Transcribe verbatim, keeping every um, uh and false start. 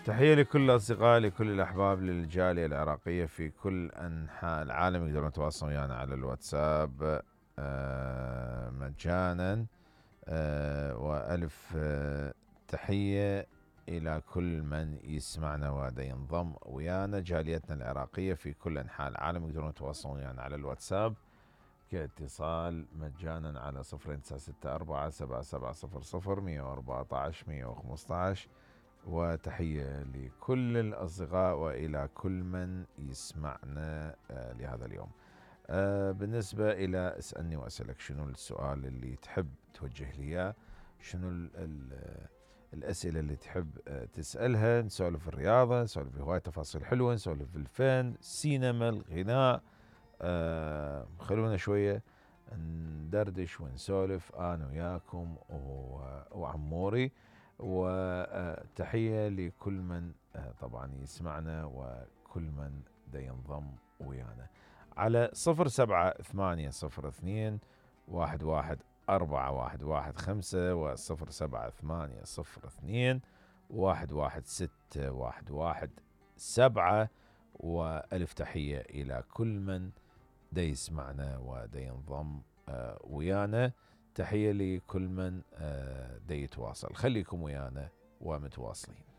تحية لكل الأصدقاء، لكل الأحباب، للجالية العراقية في كل أنحاء العالم. يقدرون يتواصلون ويانا على الواتساب آه مجانا. آه وألف آه تحية إلى كل من يسمعنا ودا ينضم ويانا. جاليتنا العراقية في كل أنحاء العالم يقدرون يتواصلون ويانا على الواتساب كاتصال مجانا على صفرين تسعة ستة أربعة سبعة سبعة صفر صفر مية وأربعة عشر مية وخمسة عشر. وتحية لكل الأصدقاء وإلى كل من يسمعنا آه لهذا اليوم. آه بالنسبة إلى اسألني وأسألك، شنو السؤال اللي تحب توجه لي إياه؟ شنو ال ال الأسئلة اللي تحب آه تسألها؟ نسولف في الرياضة، نسولف في هواية تفاصيل حلوة، نسولف في الفن، السينما، الغناء. آه خلونا شوية ندردش ونسولف أنا وياكم وعموري. وتحية لكل من طبعا يسمعنا وكل من دا ينضم ويانا على صفر سبعة ثمانية صفر اثنين واحد واحد أربعة واحد واحد خمسة وصفر سبعة ثمانية صفر اثنين واحد واحد ستة واحد واحد سبعة. وألف تحية إلى كل من دا يسمعنا ودا ينضم ويانا. تحية لكل من دا يتواصل. خليكم ويانا ومتواصلين.